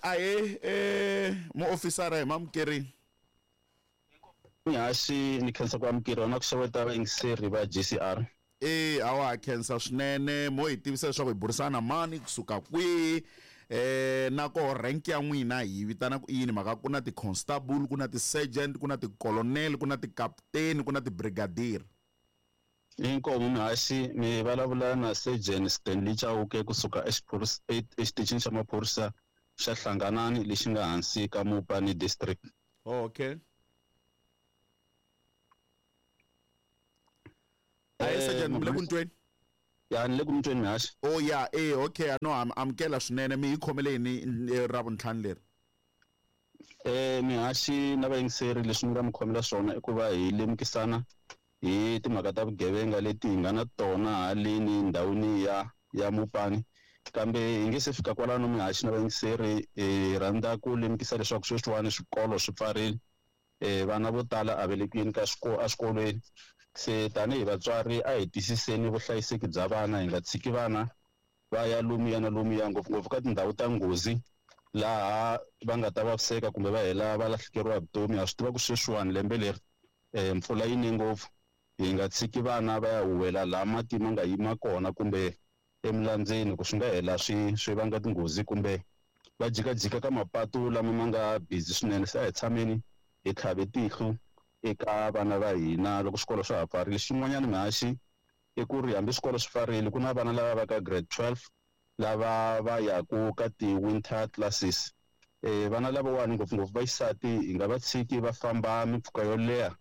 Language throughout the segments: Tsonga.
Ahe muofisara hi mamukerini. Mihaxi ni khensa ku amukeriwa na ku xeweta vayingiseri va GCR. E awa khensa swinene mo hi tivisa leswaku hi burisana na mani kusuka kwihi na koho rank ya n'wina hi vitana ku yini mhaka ku na ti-constable ku na ti-sergeant ku na ti-colonel ku na ti-captain ku na ti-brigadier. Inkomu mihaxi mi vulavula na Sergeant Stanley Chauke kusuka exitichini xa maphorisa xa Hlanganani lexi nga hansi ka Mopani District. Okay. Ahe Sergeant mi le ku ntweni? Ya ni le ku mutweni mihaxi. Oh ya okay no amukela swinene mi hi khomele yini Ravuntlhanu leri? Mihaxi na vayingiseri leswi ni nga mi khomela swona i ku va hi lemukisana hi timhaka ta vugevenga leti hi nga na tona haleni ndhawini ya Mopani kambe hi nge se fika kwalano mihaxi na vayingiseri hi rhandza ku lemukisa leswaku sweswiwani swikolo swi pfarile vana vo tala a va le ku yeni ka eswikolweni se tanihi vatswari a hi tiyisiseni vuhlayiseki bya vana hi nga tshiki vana va ya lomuya na lomuya ngopfungopfu ka tindhawu ta nghozi laha va nga ta vaviseka kumbe va hela va lahlekeriwa hi vutomi. Ha swi tiva ku sweswiwani lembe leri mpfula yi ne ngopfu hi nga tshiki vana va ya huwela laha mati ma nga yima kona kumbe emilandzeni ku swi nga hela swi vanga tinghozi kumbe va jikajika ka mapatu lama ma nga busy swinene. Se a hi tshameni hi tlhave tihlo eka vana va hina loko swikolo swa ha pfarile. Xin'wanyana mihaxi i ku ri hambi swikolo swi pfarile ku na vana lava va ka grade 12 lava va yaku ka ti-winter classes. Vana lavawani ngopfungopfu va xisati hi nga va tshiki va famba mimpfhuka yo leha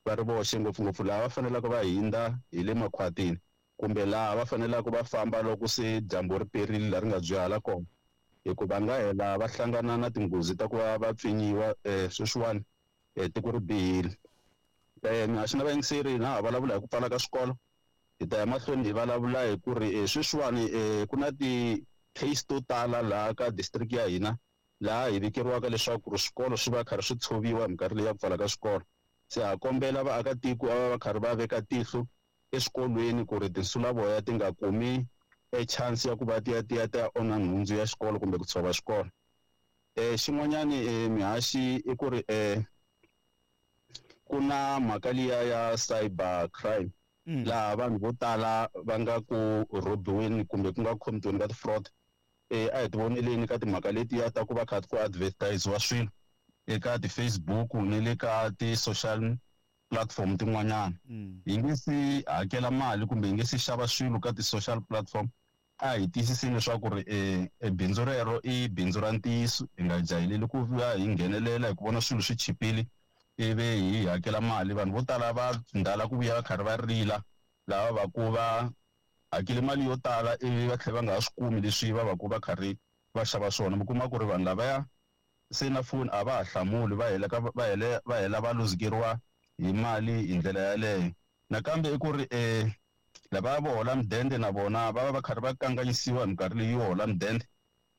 va ri voxe ngopfungopfu laha va faneleke va hindza hi le makhwatini kumbe laha va faneleke va famba loko se dyambu ri perile laha ri nga dzwihala kona hikuva nga hela va hlangana na tinghozi ta ku va va pfinyiwa sweswiwani tiko ri bihile. Mihaxi na vayingiseri na ha vulavula hi ku pfala ka swikolo hi ta ya mahlweni hi vulavula hi ku ri sweswiwani ku na ti-case to tala laha ka district ya hina laha hi vikeriwaka leswaku ri swikolo swi va karhi swi tshoviwa hi minkarhi leyi ya ku pfala ka swikolo. Se ha kombela vaakatiko va va karhi va veka tihlo eswikolweni ku ri tinsulavoya ti nga kumi e chance ya ku va ti ya ti ya ti ya onha nhundzu ya xikolo kumbe ku tshova xikolo. Xin'wanyani mihaxi i ku ri ku na mhaka liya ya cyber crime laha vanhu vo tala va nga ku rhobiweni kumbe ku nga khomitiweni ka ti-fraud. A hi ti voneleni ka timhaka letiya ta ku va kha ku advertise-iwa swilo eka ti-Facebook ni le ka ti-social platform tin'wanyana. Hi nge se hakela mali kumbe hi nge se xava swilo ka ti-social platform a hi tiyisiseni leswaku ri bindzu rero i bindzu ra ntiyiso hi nga jahileli ku va hi nghenelela hi ku vona swilo swi chipile ivi hi hakela mali. Vanhu vo tala va ndala ku vuya va karhi va rila lava va ku va hakele mali yo tala ivi va tlhela va nga ha swi kumi leswi va va ku va karhi va xava swona. Mi kuma ku ri vanhu lavaya se na foni a va ha hlamuli va hela ka va hele va hela va luzekeriwa hi mali hi ndlela yaleyo. Nakambe i ku ri lava vo hola mudende na vona va va va karhi va kanganyisiwa hi minkarhi leyi yo hola mudende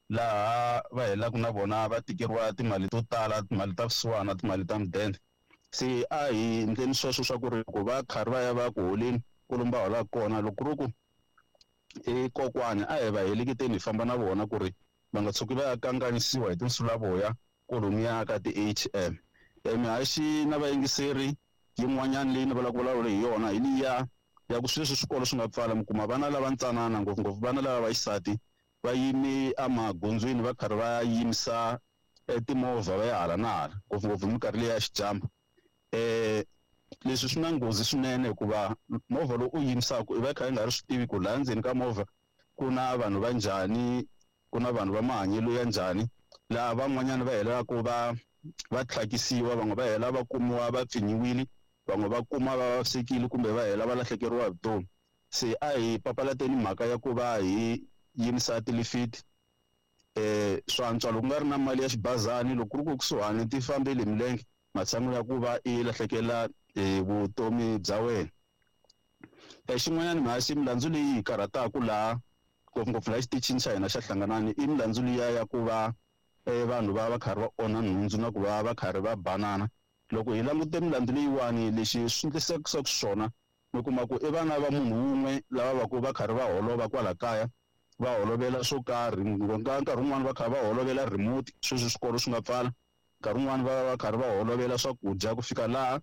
laha va helaka na vona va tikeriwa timali to tala timali ta vusiwana timali ta mudende. Se a hi endleni sweswo swa ku ri loko va karhi va ya va ku holeni kwalomu va holaka kona loko ku ri ku i kokwani a hi va heleketeni hi famba na vona ku ri va nga tshuki va ya kanganyisiwa hi tinsulavoya kwalomuya ka ti-A_T_M. Mihaxi na vayingiseri yin'wanyana leyi ni vulaka vulavula hi yona hi liya ya ku sweswi swikolo swi nga pfala mi kuma vana lava ntsanana ngopfungopfu vana lava va xisati va yime emagondzweni va karhi va yimisa timovha va ya hala na hala ngopfungopfu hi minkarhi leyi ya xidyambu. Leswi swi na nghozi swinene hikuva movha lowu u yimisaka i va i kha i nga ri swi tivi ku laha ndzeni ka movha ku na vanhu va njhani ku na vanhu va mahanyelo ya njhani laha van'wanyana va helelaka va tlhakisiwa van'we va hela va kumiwa va pfinyiwile van'we va kuma va vavisekile kumbe va hela va lahlekeriwa hi vutomi. Se a hi papalateni mhaka ya ku va hi yimisa tilifiti swa antswa loko ku nga ri na mali ya xibazani loko ku ri ku kusuhani ti fambele hi milenge matshan'wini ya ku va i lahlekela hi vutomi bya wena. Xin'wanyana mhasi milandzu leyi hi karhataka laha ngopfungopfu laha xitichini xa hina xa Hlanganani i milandzu liya ya ku va vanhu va va karhi va onha nhundzu na ku va va karhi va banana. Loko hi langute milandzu leyiwani lexi swi endlisekaka swona mi kuma ku i vana va munhu wun'we lava va ku va karhi va holova kwala kaya Va holovela swo karhi, nkarhi wun'wani va kha va holovela remote, sweswi swikolo swi nga pfala. Nkarhi wun'wani va va karhi va holovela swakudya ku fika laha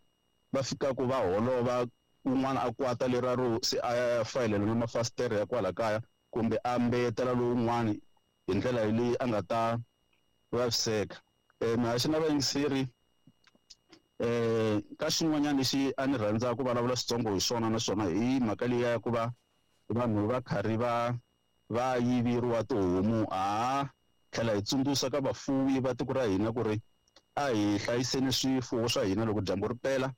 va fikaka va holova, un'wana a kwata lera ro se a ya fayelela na mafasitere ya kwala kaya, kumbe a mbeyetela lowun'wani hi ndlela leyi a nga ta vaviseka. Mihaxi na vayingiseri, ka xin'wanyana lexi a ni rhandza ku vulavula switsongo hi swona, naswona hi mhaka leyi ya ku va vanhu va karhi va yiveriwa tihomu, ha tlhela hi tsundzuxa ka vafuwi va tiko ra hina ku ri a hi hlayiseni swifuwo swa hina loko dyambu ri pela,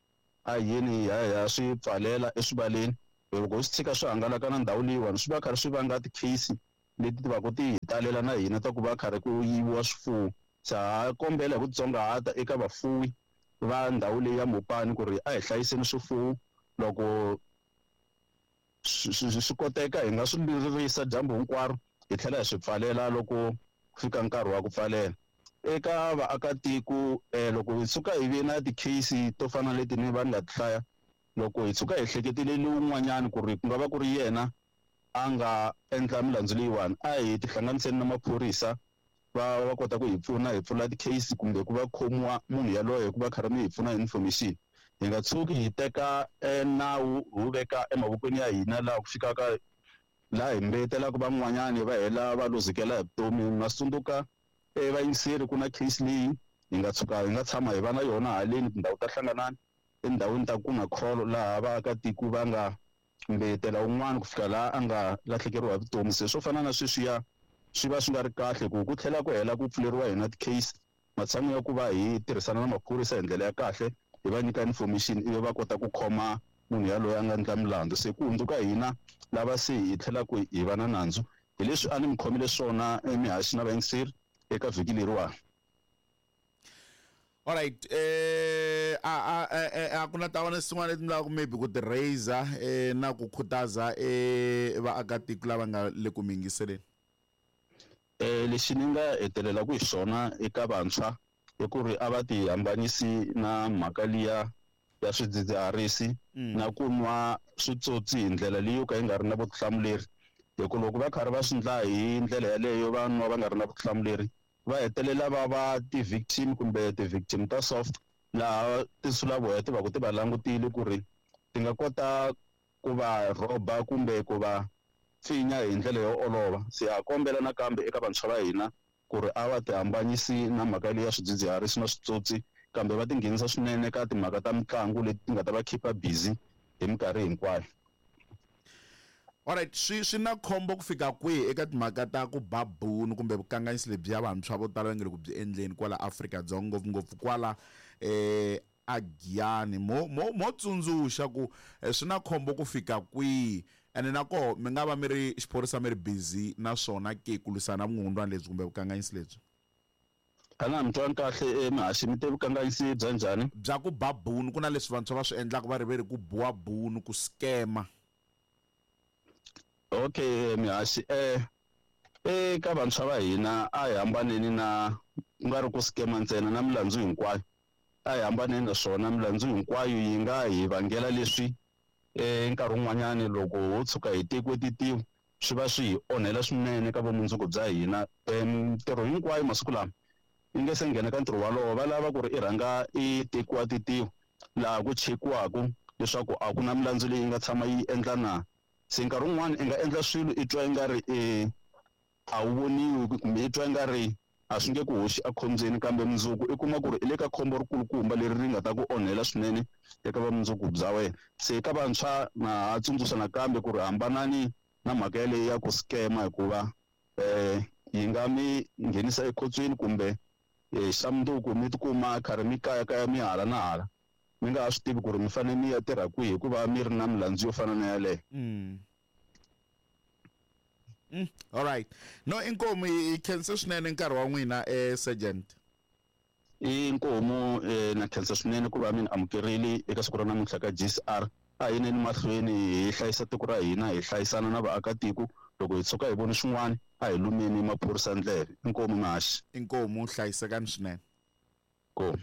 a hi yeni hi ya swi pfalela eswivaleni. Loko hi swi tshika swi hangalaka na ndhawu leyiwani, swi va karhi swi vanga ti-case leti ti va ku ti hi talela na hina ta ku va karhi ku yiviwa swifuwo. Se ha kombela hi ku tsongahata eka vafuwi va ndhawu leyi ya Mopani ku ri a hi hlayiseni swifuwo, loko swi koteka hi nga swi ririsa dyambu hinkwaro, hi tlhela hi swi pfalela loko ku fika nkarhi wa ku pfalela. Eka vaakatiko, loko hi tshuka hi ve na ti-case to fana na leti ni va ni nga ti hlaya, loko hi tshuka hi hleketele lowun'wanyani ku ri ku nga va ku ri yena a nga endla milandzu leyiwani, a hi tihlanganiseni na maphorisa va kota ku hi pfuna hi pfula ti-case kumbe ku va khomiwa munhu yaloye hi ku va karhi mi hi pfuna hi information. Hi nga tshuki hi teka nawu hi wu veka emavokweni ya hina laha ku fikaka laha hi mbeyetelaka van'wanyani va hela va luzekela hi vutomi. Ma swi tsundzuka vayingiseri, ku na case leyi hi nga tshuka hi nga tshama hi va na yona haleni tindhawu ta Hlanganani, etindhawini ta ku na kholo, laha vaakatiko va nga mbeyetela un'wana ku fika laha a nga lahlekeriwa hi vutomi. Se swo fana na sweswiya swi va swi nga ri kahle ku ku tlhela ku hela ku pfuleriwa hina ti-case, matshan'wini ya ku va hi tirhisana na maphorisa hi ndlela ya kahle, hi va nyika information ivi va kota ku khoma munhu yaloye a nga endla milandzu. Se ku hundzuka hina lava se hi tlhelaka hi va na nandzu. Hi leswi a ni mi khomile swona emihaxi na vayingiseri eka vhiki leriwani. Alright, a ku na tavana swin'wana leti mi lavaka maybe ku ti raiser na ku khutaza vaakatiko lava nga le ku mi yingiseleni? Lexi ni nga hetelelaka hi xona eka vantshwa i ku ri a va ti hambanisi na mhaka liya ya swidzidziharisi na ku nwa switsotsi hi ndlela leyi yo ka yi nga ri na vutihlamuleri, hi ku loko va karhi va swi endla hi ndlela yaleyo, va nwa va nga ri na vutihlamuleri, va hetelela va va ti-victim kumbe ti-victim ta soft, laha tinsulavoya ti va ku ti va langutile ku ri ti nga kota ku va rhoba kumbe ku va pfinya hi ndlela yo olova. Se ha kombela nakambe eka vantshwa va hina ku ri a va ti hambanyisi na mhaka leyi ya swidzidziharisi na switsotsi, kambe va tinghenisa swinene ka timhaka ta mitlangu leti ti nga ta va keep-a busy hi minkarhi hinkwayo. Alright, swi na khombo ku fika kwihi eka timhaka ta ku ba bunu kumbe vukanganyisi lebyi ya vantshwa vo tala va nge le ku byi endleni kwala Afrika-Dzonga, ngopfungopfu kwala a Giyani? Mo tsundzuxa ku swi na khombo ku fika kwihi, ene na koho mi nga va mi ri xiphorisa mi ri busy na swona ke ku lwisana na vukungundwani lebyi kumbe vukanganyisi lebyi? Xana mi twa kahle mihaxi, mi te vukanganyisi bya njhani? Bya ku ba bunu, ku na leswi vantshwa va swi endlaka va ri ve ri ku biwa bunu, ku scammer. Okay, mihaxi, eka vantshwa va hina a hi hambaneni na ku nga ri ku scammer ntsena, na milandzu hinkwayo a hi hambaneni na swona. Milandzu hinkwayo yi nga hi vangela leswi nkarhi wun'wanyani loko ho tshuka hi tekiwe titiwa swi va swi hi onhela swinene ka vumundzuku bya hina. Mintirho hinkwayo masiku lama yi nge se nghena ka ntirho walowo, va lava ku ri i rhanga i tekiwa titiwa laha ku chekiwaka leswaku a ku na milandzu leyi nga tshama yi endla na. Se nkarhi wun'wani i nga endla swilo i twa i nga ri a wu voniwi kumbe i twa i nga ri a swi nge ku hoxi ekhombyeni, kambe mundzuku i kuma ku ri i le ka khombo rikulukumba leri ri nga ta ku onhela swinene eka vumundzuku bya wena. Se eka vantshwa na ha tsundzuxa nakambe ku ri hambanani na mhaka yaleyo ya ku scammer, hikuva yi nga mi nghenisa ekhotsweni kumbe xa mundzuku mi tikuma karhi mi kayakaya mi hala na hala, mi nga ha swi tivi ku ri mi fanele mi ya tirha kwihi hikuva mi ri na milandzu yo fana na yaleyo. All right. No, inkomu hi khensa swinene nkarhi wa n'wina sergeant. Inkomu na khensa swinene ku va mi ni amukerile eka siku ra namuntlha ka GCR. A hi yineni mahlweni hi hlayisa tiko ra hina, hi hlayisana na vaakatiko. Loko hi tshuka hi voni swin'wana a hi lumeni maphorisa ndleve. Inkomu mihaxi. Inkomu, hlayisekani swinene. Inkomu.